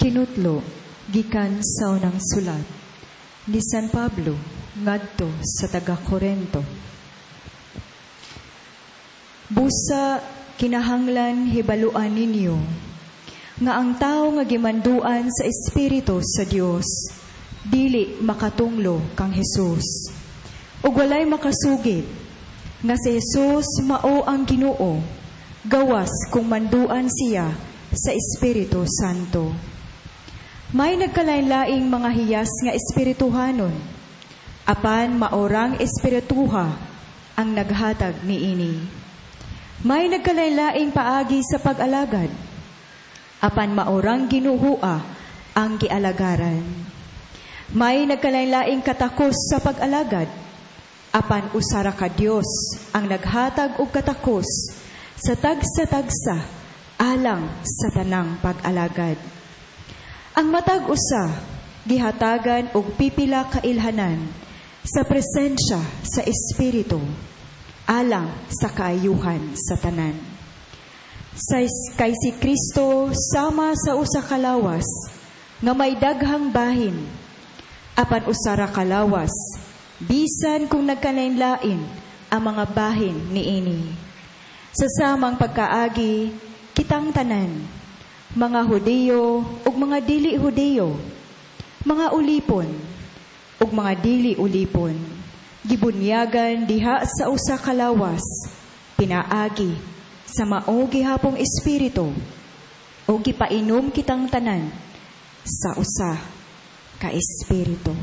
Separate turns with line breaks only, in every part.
Kinutlo gikan sa unang sulat ni San Pablo ngadto sa taga Korento. Busa kinahanglan hibaluan ninyo nga ang tawo nga gimanduan sa Espiritu sa Dios dili makatunglo kang Jesus. Ug walay makasugid nga si Jesus mao ang Ginoo gawas kung manduan siya sa Espiritu Santo. May nagkalain-laing mga hiyas nga espirituhanon, apan maorang espirituha ang naghatag niini. May nagkalain-laing paagi sa pag-alagad, apan maorang Ginoo ang gialagaran. May nagkalain-laing katakos sa pag-alagad, apan usa ra ka Dios ang naghatag og katakos sa tagsa-tagsa alang sa tanang pag-alagad. Ang matag usa gihatagan og pipila ka ilhanan sa presensya sa Espiritu alang sa kaayuhan sa tanan. Sa kay si Kristo sama sa usa ka lawas nga may daghang bahin, apan usa ra ka lawas bisan kung nagkalain-lain ang mga bahin niini. Sa samang pagkaagi, kitang tanan, mga Hudiyo ug mga dili Hudiyo, mga ulipon ug mga dili ulipon, gibunyagan diha sa usa ka lawas pinaagi sa mao gihapong espiritu, ug gipainom kitang tanan sa usa ka espiritu.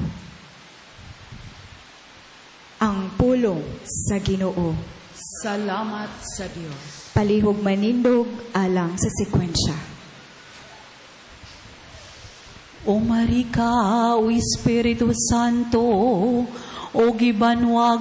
Ang pulong sa Ginoo.
Salamat sa Dios.
Palihog manindog alang sa sekwensya.
O Marika, o Espiritu Santo, o gibanwag